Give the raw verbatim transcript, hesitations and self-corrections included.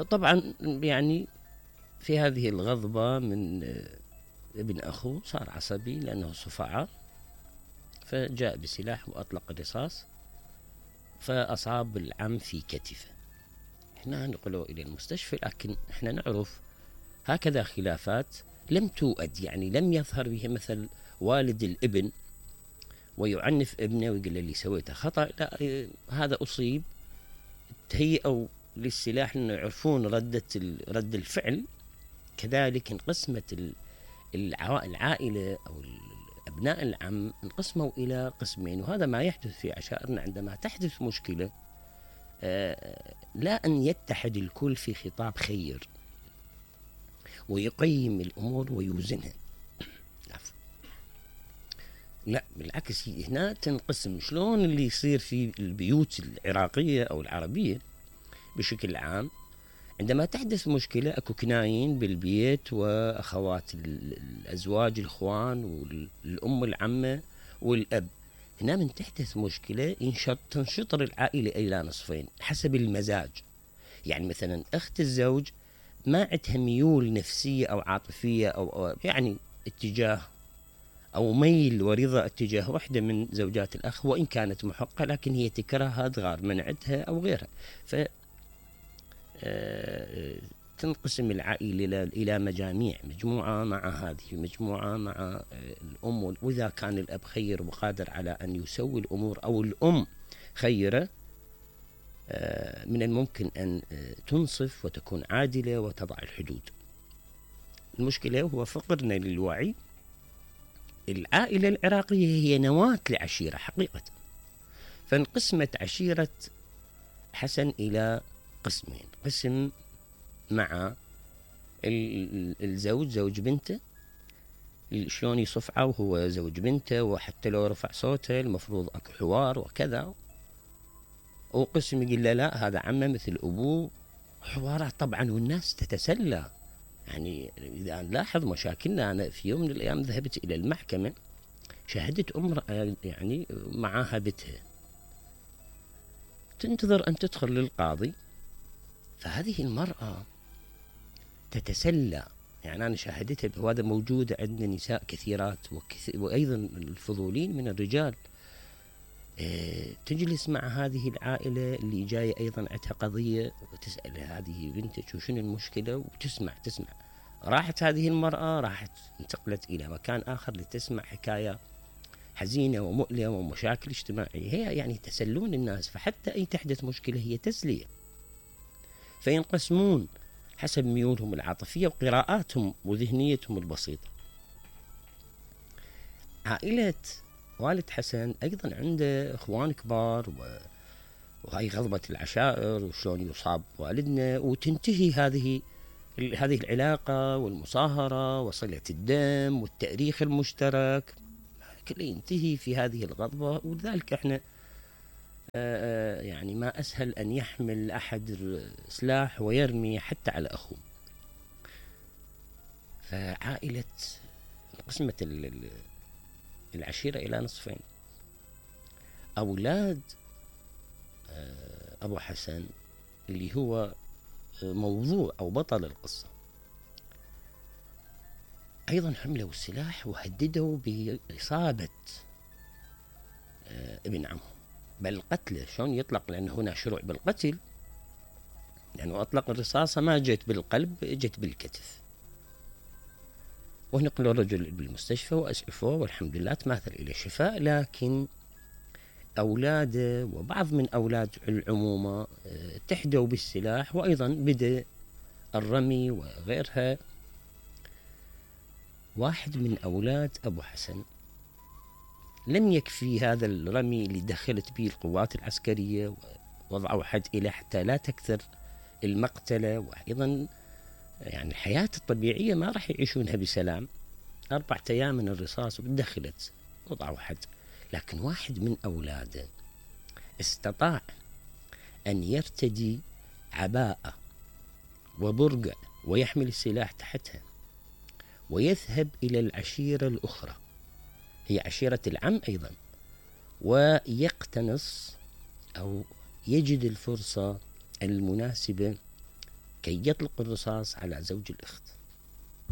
طبعا يعني في هذه الغضبة من ابن أخوه صار عصبي لأنه صفعة، فجاء بسلاح وأطلق الرصاص فأصاب العم في كتفه. احنا نقلوا إلى المستشفى، لكن احنا نعرف هكذا خلافات لم توأد، يعني لم يظهر بها مثل والد الابن ويعنف ابنه ويقول له اللي سويته خطأ، لا هذا أصيب تهيئوا للسلاح لأنه يعرفون ردة رد الفعل. كذلك انقسمت العائلة أو أبناء العم انقسموا إلى قسمين، وهذا ما يحدث في عشائرنا. عندما تحدث مشكلة لا أن يتحد الكل في خطاب خير ويقيم الأمور ويوزنها، لا بالعكس هنا تنقسم. شلون اللي يصير في البيوت العراقية أو العربية بشكل عام، عندما تحدث مشكلة أكو كناين بالبيت وأخوات الأزواج الإخوان والأم العمة والأب. هنا من تحدث مشكلة ينشط تنشطر العائلة إلى نصفين حسب المزاج. يعني مثلا أخت الزوج ما عندها ميول نفسية أو عاطفية أو يعني اتجاه أو ميل ورضا اتجاه واحدة من زوجات الأخ، وإن كانت محقة لكن هي تكرهها تغار من عندها أو غيرها، ف تنقسم العائلة إلى مجاميع، مجموعة مع هذه، مجموعة مع الأم. وإذا كان الأب خير وقادر على أن يسوي الأمور أو الأم خيرة، من الممكن أن تنصف وتكون عادلة وتضع الحدود. المشكلة هو فقرنا للوعي. العائلة العراقية هي نواة لعشيرة حقيقة، فانقسمت عشيرة حسن إلى قسمين: قسم مع الزوج زوج بنته شلون يصفعه وهو زوج بنته، وحتى لو رفع صوته المفروض اكو حوار وكذا، وقسم يقول له لا هذا عمه مثل ابوه، حوارات طبعا والناس تتسلى. يعني اذا نلاحظ مشاكلنا، انا في يوم من الايام ذهبت الى المحكمة، شاهدت امرأة يعني معها بنتها تنتظر ان تدخل للقاضي، فهذه المرأة تتسلى. يعني أنا شاهدتها، وهذا موجود عندنا نساء كثيرات وكثير وأيضا الفضولين من الرجال. اه تجلس مع هذه العائلة اللي جاية أيضا عندها قضية وتسأل هذه بنتك وشنو المشكلة، وتسمع تسمع راحت هذه المرأة، راحت انتقلت إلى مكان آخر لتسمع حكاية حزينة ومؤلمة ومشاكل اجتماعية. هي يعني تسلون الناس، فحتى أي تحدث مشكلة هي تسلية. فينقسمون حسب ميولهم العاطفية وقراءاتهم وذهنيتهم البسيطة. عائلة والد حسن أيضا عنده إخوان كبار، و... وهي غضبة العشائر وشلون يصاب والدنا، وتنتهي هذه هذه العلاقة والمصاهرة وصلة الدم والتاريخ المشترك كله ينتهي في هذه الغضبة. ولذلك احنا آآ يعني ما أسهل أن يحمل أحد سلاح ويرمي حتى على أخوه. فعائلة قسمة العشيرة إلى نصفين: أولاد أبو حسن اللي هو موضوع أو بطل القصة أيضا حملوا السلاح وهددوا بإصابة ابن عمهم بل قتله. شلون يطلق؟ لأن هنا شروع بالقتل، لأنه أطلق الرصاصة ما جت بالقلب، جت بالكتف، ونقلوا الرجل بالمستشفى وأسعفوه والحمد لله تماثل إلى شفاء. لكن أولاده وبعض من أولاد العمومة تحدوا بالسلاح، وأيضا بدأ الرمي وغيرها. واحد من أولاد أبو حسن لم يكفي هذا الرمي اللي دخلت به القوات العسكرية ووضعوا حد إليه حتى لا تكثر المقتلة، وأيضا يعني الحياة الطبيعية ما راح يعيشونها بسلام. أربعة أيام من الرصاص ودخلت وضعوا حد. لكن واحد من أولاده استطاع أن يرتدي عباءة وبرقع ويحمل السلاح تحتها ويذهب إلى العشيرة الأخرى، هي عشيرة العم أيضا، ويقتنص أو يجد الفرصة المناسبة كي يطلق الرصاص على زوج الأخت.